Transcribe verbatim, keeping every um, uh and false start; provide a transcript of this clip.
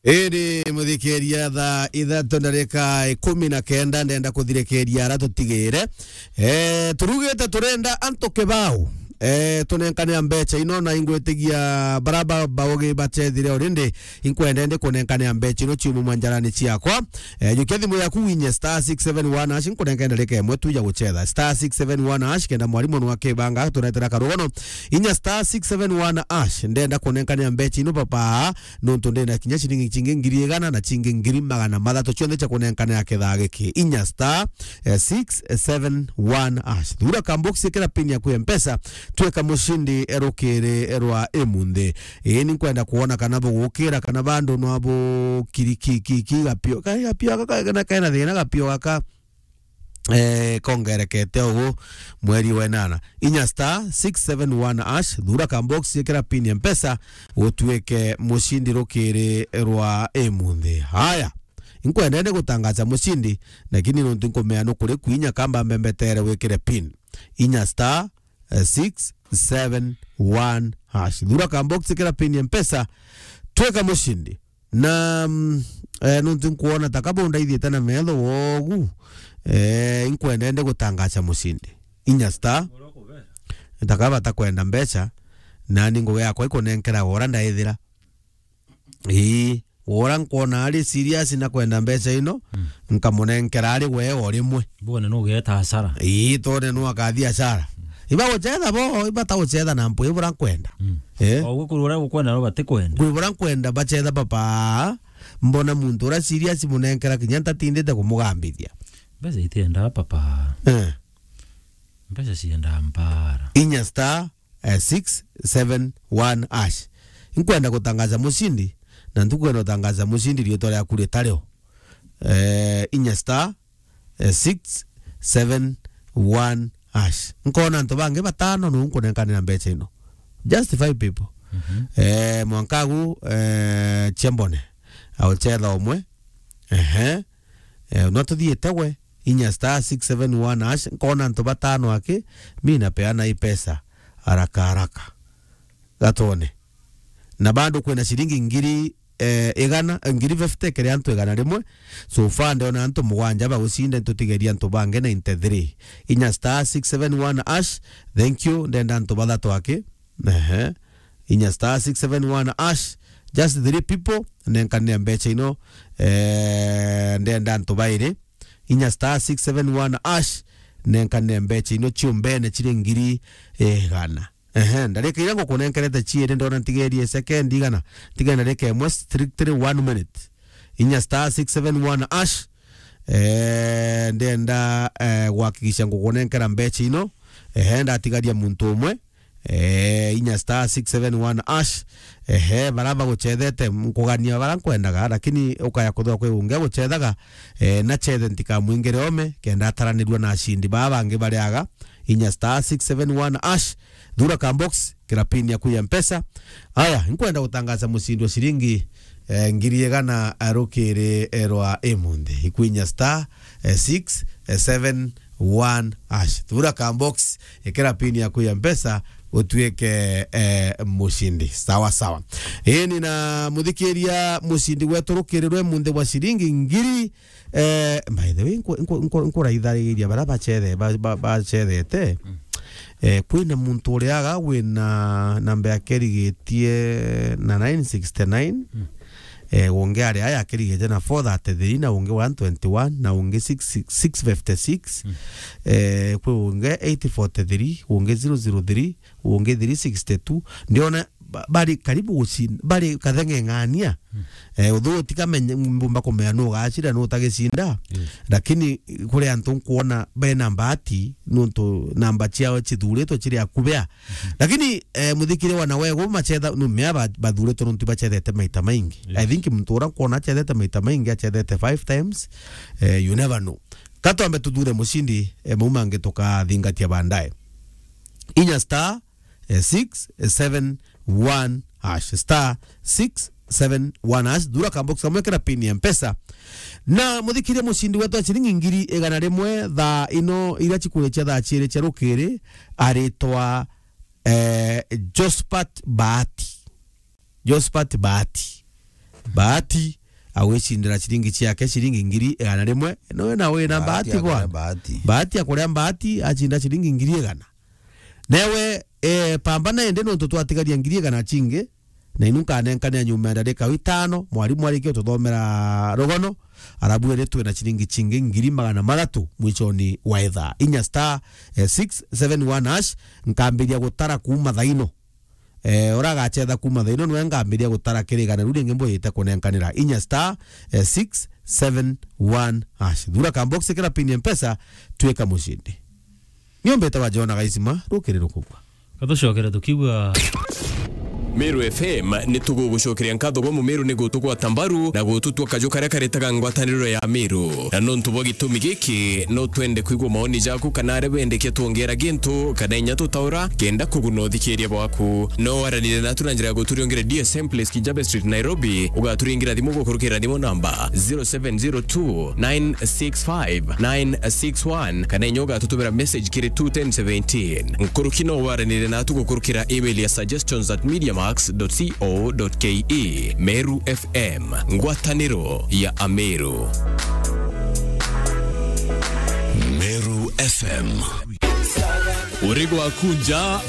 Iri muthikiria, thaa ithatu ndarika ikumi na kenda, ndenda kuthirikiria ara tutigire. Eh, turugite turenda antu kibao. Eh, tunenkane mbecha ino, na ingwitigia bara ba-, baugi bachethire already, inkwenda ndi kunenkane mbecha ino ciumu manjarani ciakwa. Eh, jukia thimu yaku winye star six seven one hash, nkunenkane ndarika imwe tu ya guchetha. Star six seven one hash, kenda mwarimu nwa kibanga, turetera karugono. Inya star six seven one hash, ndenda kunenkane mbecha ino papa. Nontu ndina kinya ciringi cingi ngiri igana na cingi ngiri magana mathatu, cionthe cia kunenkanira kithaa giki. Inya star, eh, six seven one hash. Thura ka box, ikira pin yaku ya Mpesa, twika mucindi rukiri rwa imunthi. Ii, ni nkwenda kuona kana bugukira, kana bandu no abu kiri ki, ki, ki gapio. Ka gapio gaka, kana kena thina gapio gaka. Eh, kongerekete ugu mweri wa inana. Inya star six seven one hash, thura ka box, ikira pin ya Mpesa, utuike mucindi rukiri rwa imunthi. Haya, inkwenda ndi gutangaza mucindi, lakini nontu nkumea nukuri kwinya kamba mbembetere wikire pin. Inya star, eh, six seven one hash. Thura ka box, ikira pin ya Mpesa, twika mucindi. Na, mm, eh, nontu nkuona ta kaba undaithiete na metho wogu, eh, inkwenda ndi gutangaza mucindi. Inya star. Ta kaba batakwenda mbecha, nani ngugi yakwa ikunenkera ura ndaithira. Ii, ura nkwona ari serious na kwenda mbecha ino, mm, nkamunenkera ari we o rimwe. Bone nugeeta hasara. Ii, tone nu akathi hasara. Iba guchetha bo, iba ta guchetha na mpu, ibura nkwenda. Mm. Eh? O gukuru uria gukwenda no batikwenda. Kwi bura nkwenda bachetha papa, mbona muntu ura serious munenkera kinya ntatindite kumugambithia. Mbeca itiendaa papa. Eh. Mbeca ciendaa mbara. Inya star, eh, six seven one hash. Nkwenda gutangaza mucindi, na ntukwenda gutangaza mucindi riitwa riaku ritario. Eh, inya star, eh, six seven one hash. Nkona antu bangi batano nu nkunenkanira mbecha ino. Just five people. Mhm. Eh, mwankagu, eh, Chiambone. Auchetha umwe. Ehe. Eh, no tuthiite we. Inya star six seven one hash. Nkona antu batano aki. Mi napeana hii pesa haraka haraka. Gatone. Na bado kwina ciringi ngiri, eh, igana, eh, ngiri fifty kiri antu igana rimwe. So far, ndona antu mugwanja bagucinda, ntutigeria antu bangi ninety-three. Inya star six seven one hash. Thank you. Ndenda antu bathatu aki. Ehe. Inya star six seven one hash. Just three people. Nenkanire mbecha ino. Eh, ndenda antu bairi. Inya star six seven one hash. Nenkanire mbecha ino ciumbene ciri ngiri igana. Ehe, ndarika iria ngukunenkerete ciiri, ndona ntigerie second igana. Ntigerie ndarika imwe, strictly one minute. Inya star six seven one hash. Eh, ndenda, eh, guhakikisha ngukunenkera mbecha ino. Ehe, ndatigaria muntu umwe. Eh, inya star six seven one hash. Ehe, bara baguchethete, nkugania bara nkwendaga, lakini ukaya kuthwa kwi ungi aguchethaga. Eh, na chethe ntikamwingire ome, kenda ataranirua na acindi baa bangi bariaga. Inya star six seven one hash. Thura ka box, kira pin yaku ya Mpesa. Aya, nkwenda gutangaza mucindi wa ciringi, eh, ngiri igana rukiri, eh, rwa imunthi. Ikwinya star, eh, six seven one hash. Thura ka box, ikira pin yaku ya Mpesa, utuike, eh, mucindi. Sawa, sawa. Ii, ni na muthikiria, mucindi wetu rukiri rwa imunthi wa ciringi ngiri Eh, by the way, nku-, nku-, nku-, nkuraithariria bara bachethe-, ba-, ba-, bachethete. Mm. Eh, kwina muntu uriaga wina namba yake irigitie na nine sixty-nine. Mm. Eh, ungi ari aya akirigitie na four thirty-three, na ungi one twenty-one, na ungi six, six fifty-six. Mm. Eh, kwi ungi eight forty-three, ungi zero zero three, ungi three sixty-two. Ndiona ba-, bari karibu gucinda, bari katheng'eng'ania. Mm. Eh, uthu utikamenye, mbumba kumenya nu ugacira, nu utagicinda. Yes. Lakini kuri antu nkuona bena mbati, nuntu namba ciao cithuritwe ciri akubea. Mhm. Lakini, eh, muthikire wana wegu machetha, nu mea ba-, bathuritwe nuntu bachethete maita maingi. Yes. I think muntu ura nkuona achethete maita maingi, achethete five times. Eh, you never know. Ka twambe tuthure mucindi, eh, mau mangi tukathingatia baadaye. Inya star, eh, six seven one hash, star six seven one hash, thura ka box kamwe kira pin ya Mpesa. Na muthikirie mucindi wetu wa ciringi ngiri igana rimwe thaa ino iria cikurikia thaa ciiri cia rukiri, aritwa, eh, Jospat Bahati. Jospat Bahati. Bahati, agwicindira ciringi ciake, ciringi ngiri igana rimwe. Nowe na wina Bahati bahati akore bwana. Bahati. Bahati akuria bahati, acinda ciringi ngiri igana. Newe, eh, pambana indi nontu twatigaria ngiri igana cingi, na inu nkanenkanira nyuma ya ndarika itano, mwarimu arikia ututhomera rugono, arabu iri twina ciringi cingi ngiri magana mathatu mwichoni wa ithaa. Inya star, eh, six seven one hash, nkambiria gutara kuuma thaino. Eh, ura agachetha kuuma thaino nwe ngambiria gutara kirigana riu ringi mbwite kunenkanira. Inya star, eh, six seven one hash. Thura ka box kira pin ya Mpesa, twika mucindi. Niombete wa Jona Gaisima, rukiri rukugwa. Katucokere tukiuga. Meru F M ni tugugucokeria nkatho gwa Mumeru ni gutugwata mbaru na gututua kaju karia karetaga ngwataniro ya Meru. Na nontu bwa gitumi giki, no twende kwigua maoni jaku kana aria bendekia twongera gintu kana inya tutaura kenda kuguna uthikiria bwaku. No waranire natu na njira ya guturiongera D S M Place, Kijabe Street, Nairobi, ugaturingira thimu gukurukira thimu namba zero seven zero two nine six five nine six one, kana inya ugatutumira message kiri two ten seventeen. Nkuruki no waranire natu gukurukira email ya suggestions at mediamax dot co dot ke. Meru F M, ngwataniro ya Ameru. Meru F M. Uri gwaku nja,